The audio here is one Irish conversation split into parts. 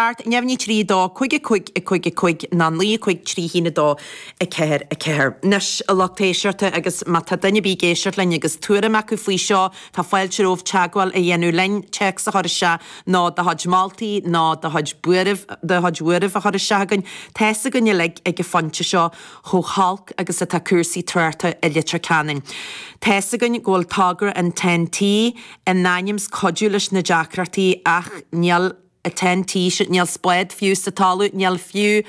7, neamhní 3, 2, 5, 5, 5, 5 nó 9, 5, 3, 1, 2, 4, 4. Anois, a lucht éisteachta, agus má tá duine ar bith ag éisteacht linn agus tuairim acu faoi seo, tá fáilte romhaibh teagmháil a dhéanamh linn, téacs a chur isteach nó do chuid moltaí nó do chuid buairimh, do chuid bhuairimh a chur isteach chugainn. Tá's againn uilig ag an phointe seo chomh holc agus atá cúrsaí tráchta i Leitir Ceanainn. Tá's againn go bhfuil togra an Ten-T in ainm 's cuidiú leis na deacrachtaí ach níl an Ten-T sin, níl spád fiú sa talamh, níl fiú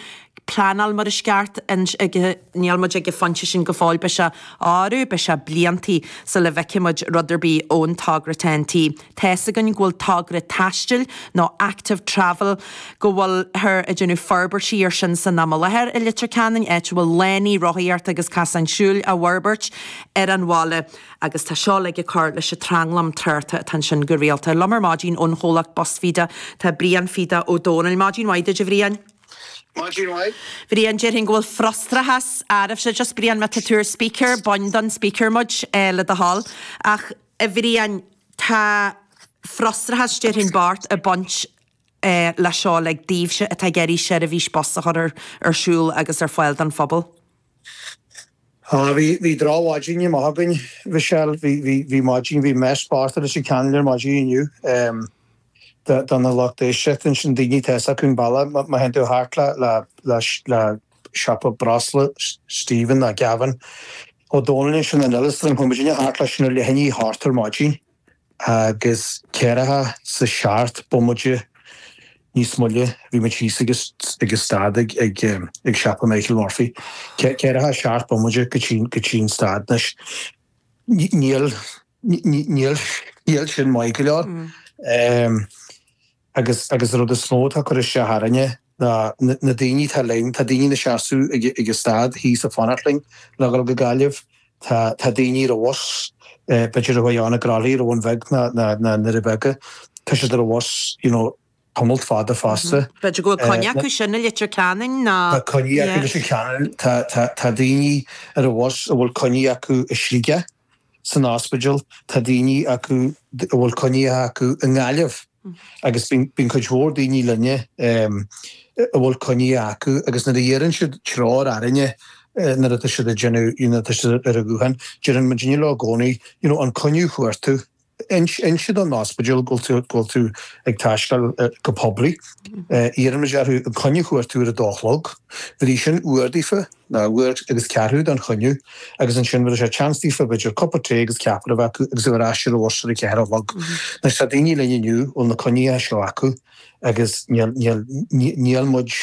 pleanáil mar is ceart ag, níl muid ag an phointe sin go fóill, beidh sé, árú, beidh sé bliantaí sula bhfeicfidh muid rud ar bith ón togra Ten-T. Tá's againn go bhfuil togra taistil nó active travel, go bhfuilthear ag déanamh forbairtí ar sin san am i láthair i Leitir Ceanainn, áit a bhfuil lánaí rothaíochta agus casáin siúil á bhforbairt ar an bhaile. Agus tá seo uilig ag cur leis an tranglam tráchta atá ansin go rialta. Liom ar maidin ón chomhlacht Bus Feda tá Brian Feda Ó Dónaill. Maidin mhaith duit a Bhriain. Maidin mhaith. Bhriain, déarfainn go bhfuil frustrachas oraibhse. Just Brian, má tá tú ar speaker, bain den speaker muid le do thoil. Ach a Bhriain, tá frustrachas déarfainn bocht ag baint leis seo uilig daoibhse atá ag iarraidh seirbhís bus a chur ar siúl agus ar fáil don phobal. Á, bhí, bhí drochmhaidin amach againn, Mhichelle, bhí, bhí, bhí maidin, bhí mess bocht i Leitir Ceanainn ar maidin inniu, em, do, do na lucht éisteachta ansin, daoine tá fhios acu an bealach, má, má théann tú thart le, le, le, le siopa breosla Stephen ná Gavin Ó Dónaill ansin in Oileastran, chuaigh muidinne thart leis sin ar leath i ndiaidh a hocht ar maidin. Agus ceathracha 's a seacht bomaite níos moille bhí muid thíos ag an stad ag ag siopa Michael Murphy. Ceathracha seacht bomaite go dtí go dtí an stad. Anois níl níl níl sin maith go leor. Agus agus an rud is mó atá ag cur isteach orainne ná na daoine atá linn, tá daoine ina seasamh ag ag an stad thíos ag fanacht linn le dhul go Gaillimh, tá tá daoine ar an bhus, b'fhéidir a chuaigh ann i gCroithlí, an Bhun Bheag ná ná na nDoirí Beaga, tá siad ar an bhus you know tamalt fada fosta. B'fhéidir go bhfuil coinne acu sin i Leitir Ceanainn ná. Tá coinní acu i Leitir Ceanainn, tá tá tá daoine ar an bhus a bhfuil coinní acu i Sligeach san ospidéal, tá daoine acu a bhfuil coinní acu i nGaillimh. Agus bíonn cuid mhór daoine linne a bhfuil coinní acu agus nuair a iarrann siad treoir orainne nuair atá siad ag déanamh, you know, atá siad ar an ghuthán, deireann muidinne leo i gcónaí, you know, an coinne a fuair tú, inis don ospidéal go bhfuil tú, go bhfuil tú ag taisteal go poiblí. Iarrann muid orthu an coinne a fuair tú ar a dó a chlog, bhí sin uair daofa. ná uair agus ceathrú don choinne agus ansin bheadh sé chance daofa b'fhéidir cupa tae agus ceapaire a bheith acu agus a bheith ar ais ar an bhus ar a ceathair a chlog. Anois tá daoine linn inniu a bhfuil na coinníocha seo acu agus níl, níl, níl muid,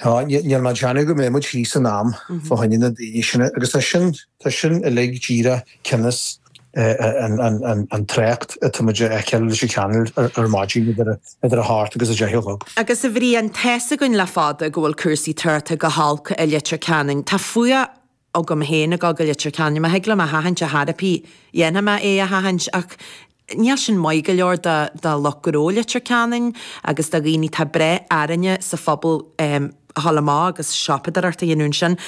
níl mé ag déanamh go mbeidh muid thíos in am fá choinne na daoine sin agus tá sin, tá sin uilig díreach cionn is an trácht atá muid a fheiceáil i Leitir Ceanainn ar maidin idir a hocht agus a deich a chlog. Agus a Bhriain, tá's againn le fada go bhfuil cúrsaí tráchta go holc i Leitir Ceanainn. Tá fuath agam féin ag dul go Leitir Ceanainn. Má thig liom a sheachaint ar chor ar bith, dhéanfaidh mé é a sheachaint ach níl sin maith go leor do lucht gnó Leitir Ceanainn agus do dhaoine atá ag brath orainne sa phobal a dhul amach agus siopadóireacht a dhéanamh ansin.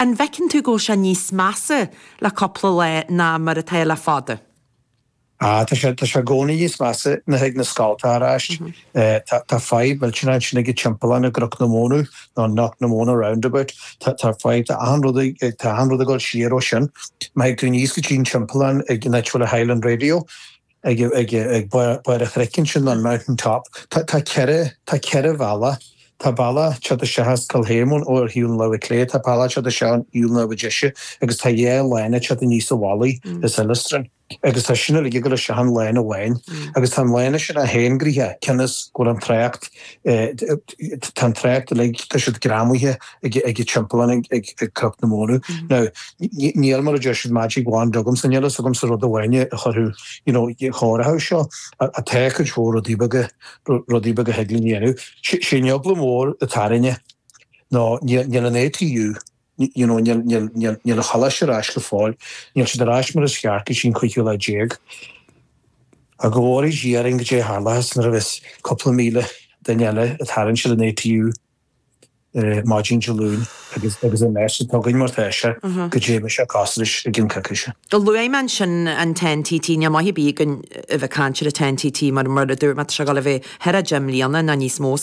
An bhfeiceann tú go bhfuil sé níos measa le cúpla lá ná mar atá le fada. Ah, tá sé, tá sé i gcónaí níos measa nuair a thig na scoltacha ar ais. Tá, tá fadhb mhillteanach ansin ag an timpeallán i gCnoc na Móna, nó Knocknamona Roundabout. Tá, tá fadhb, tá achan rud ag, tá achan rud ag dul siar ó sin. Má thig tú aníos go dtí an timpeallán ag an áit a bhfuil an Highland Radio, ag, ag, ag barr an chnoic ansin, an Mountain Top, tá, tá ceithre, tá ceithre bhealach. Tá bealach ag teacht isteach as Cill Shéamoin ó ar thaobh na láimhe clé, tá bealach ag teacht isteach ón thaobh na láimhe deise agus tá dhá lána ag teacht aníos an mhullaigh as Oileastran agus tá sin uilig ag dul isteach in lána amháin agus tá an lána sin é féin gnoitheach cionn is go bhfuil an trácht tá an trácht uilig tá siad greamaithe ag ag an timpeallán ag ag ag Cnoc na Móna. Now níl mar a deir siad magic wand agamsa níl fhios agamsa rud amháin a chuirfeadh you know chóireochadh seo tá cuid mhór rudaí beaga rudaí beaga a thig linn a dhéanamh. Sé an eagla mhór atá orainne ná níl an ATU, you know, níl, níl, níl, níl an choláiste ar ais go fóill, níl siad ar ais mar is cheart go dtí an cúigiú lá déag. Ach go bhfóire Dia orainn goidé a tharlóchas nuair a bheas cúpla míle duine eile ag tarraingt ar an ATU. maidin Dé Luain agus agus an mess atá againn mar tá sé goidé a bheidh sé cosúil leis i gcionn coicíse. Luaigh mé ansin an Ten-TT, níl maith ar bith againn a bheith ag caint ar an Ten-TT mar mar a dúirt mé tá sé ag dul a bheith thar 10 mbliana nó níos mó.